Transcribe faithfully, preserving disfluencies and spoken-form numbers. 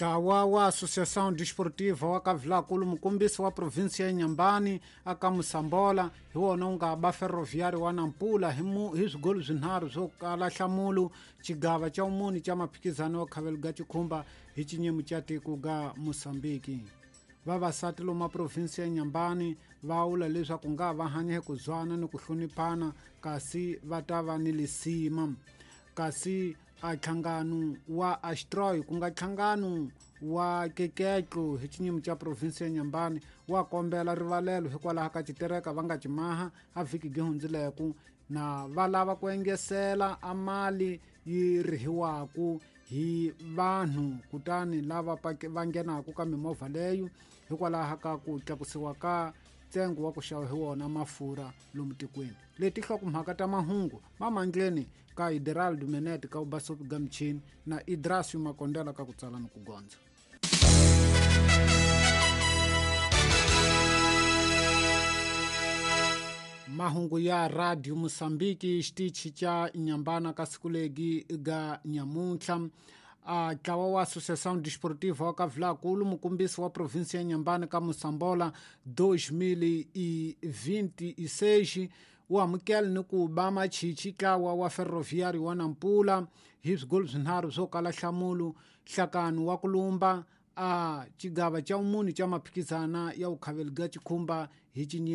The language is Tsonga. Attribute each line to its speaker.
Speaker 1: Ntlawa wa Associação Desportiva wa Kavilakulu mukombisi wa província ya Inhambane aka Moçambola hi wona wu nga ba Ferroviário wa Nampula hi, mu, hi swigolo swinharhu swo kala nhlamulo xigava xa vumune xa maphikizano wa khavelo ga xikhumba hi xinyemu xa tiko ga Moçambique. Vavasati lomu provinsi ya Inhambane va vula leswaku nga va hanya hi ku zwana ni ku hloniphana kasi va ta va ni lisima. Kasi a nhlangano wa Astroy ku nga nhlangano wa keketlo hi xinyimi xa provinsi ya Inhambane wa kombela rivalelo hikwalaho ka xitereka va nga ximaha a vhiki gi hundzileku na va lava ku engesela a mali yi rihiwaku hi vanhu kutani lava va nghenaku ka mimovha leyo hikwalaho ka ku tlakusiwa ka ntsengo wa ku xava hi wona mafurha lomu tikweni. Leti nhlokomhaka ta mahungu mamandleni ka Ideraldo Menet ka Ubasopi Gamchini na Idrasio Makondela ka ku tsala ni ku gondza. Mahungu ya Radio Moçambique xitichi xa Inhambane ka siku legi ga nyamuntlha. A ntlawa wa Associação Desportiva wa Kavilakulu mukombisi wa província ya Inhambane ka Moçambola dois mil e vinte e seis wu amukela ni ku ba machichi ntlawa wa Ferroviário wa Nampula hi swigolo swinharhu swo kala nhlamulo nhlakano wa ku lumba a xigava xa vumune xa maphikizana ya vukhavelo bya xikhumba hi xinyimi.